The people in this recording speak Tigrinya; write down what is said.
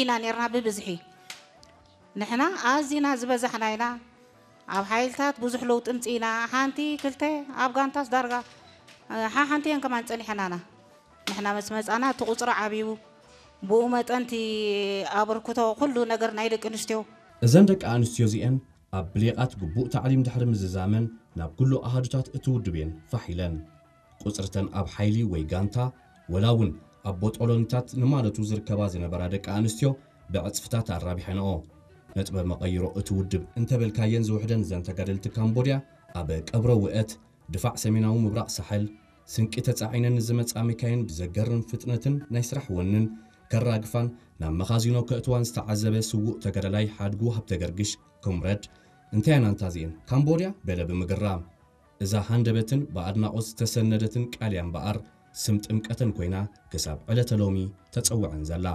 ኢና ነርና ብብዝሒ። ንሕና ኣዚና ዝበዛሕና ኢና። ኣብ ሓይልታት ብዙሕ ለውጢ ምጽኢና። ሓንቲ ክልተ ኣብ ጋንታስ ዳርጋ ሓሓንቲ እየን ከማን ጸኒሐናና። ንሕና ምስ መጻና እቲ ቁጽሪ ዓብዩ። ብኡ መጠን እቲ ኣበርክቶ ኩሉ ነገር ናይ ደቂ ኣንስትዮ። እዘን ደቂ ኣንስትዮ እዚኤን ኣብ ብሌቓት ግቡእ ታዕሊም ድሕሪ ምዝዛመን ናብ ኩሉ ኣሃዱታት እቲ ውድብ እየን ፋሕ ኢለን። ቁጽርተን ኣብ ሓይሊ ወይ ጋንታ ወላ እውን ኣብ ቦጦሎኒታት ንማለቱ ዝርከባ ዝነበራ ደቂ ኣንስትዮ ብዕጽፍታት ኣራቢሐንኦ። ነጥበ መቐይሮ እቲ ውድብ እንተበልካየን ዝውሕደን እዘን ተጋደልቲ ካምቦድያ ኣብ ቀብረ ውእት ድፋዕ ሰሜናዊ ምብራቕ ሳሕል ስንቂ ተጻዒነን ንዝመጻ መካይን ብዘገርም ፍጥነትን ናይ ስራሕ ወንን ከራግፋን ናብ መኻዚኖ ከእትዋን ዝተዓዘበ ስዉእ ተጋዳላይ ሓድጉ ሃብተገርግሽ ኮምረድ እንታይ ኣንታ እዚኤን ካምቦድያ በለ ብምግራም። እዛ ሃንደበትን ብኣድናቖት ዝተሰነደትን ቃልያ እምበኣር ስም ጥምቀተን ኮይና ክሳብ ዕለተ ሎሚ ተጸውዐን ዘላ።